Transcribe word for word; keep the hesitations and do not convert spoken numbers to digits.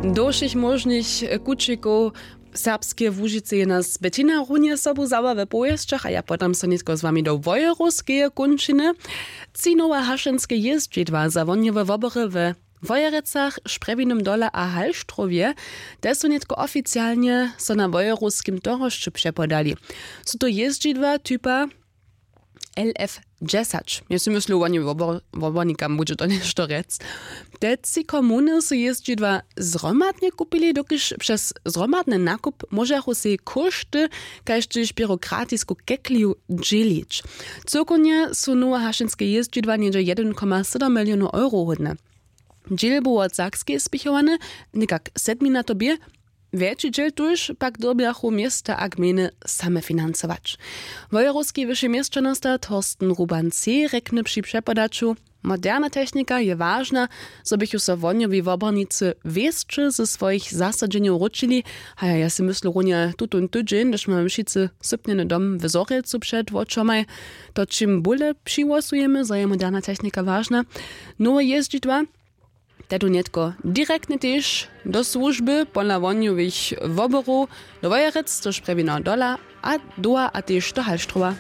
Do wšěch móžnych kućikow serbskeje łužicy je nas betina runje sobu zawa we powěsćach a ja podam so nětko z wami do wojerowskeje kónčiny. Tři nowe hašenske jězdźidła za wohnjowe wobory we wojerecach, šprjewinym dole a halštrowje, te su nětko oficialnje so na wojerowskim tohosću přepodali. Su to jězdźidła typa lf dźesać. Mjez myslu woni wobornikam budźe to něšto rjec. Te tři komuny su jězdźidła zhromadnje kupili, dokelž přez zhromadny nakup móžachu sej kóšty kaž tež běrokratisku kekliju dźělić. Cyłkownje su nowe hašenske jězdźidła něhdźe jedyn koma sydom milionow euro hódne. Dźěl bu wot sakskeje spěchowane, někak sedmi na to bě. Wjetši dźěl tuž pak dyrbjachu města a gmejny same financować. Wojerowski wyši měšćanosta thorsten ruban c rjekny při přepodaću: Moderna technika je wažna, zo běchu so wohnjowi wobornicy wěsće ze swojich zasadźenjow wróćili. Haja ja sej myslu runje tutón tydźeń hdyž mamy wšitcy sypnjeny dom w zhorjelcu před wočomaj. To čim bóle přihłosujemy zo je moderna technika wažna. Nowe jězdźidła tedu nětko direktnje tež do słužby pola wohnjowych woborow do wojerec což prjewina dola a doła a tež do halštrowa.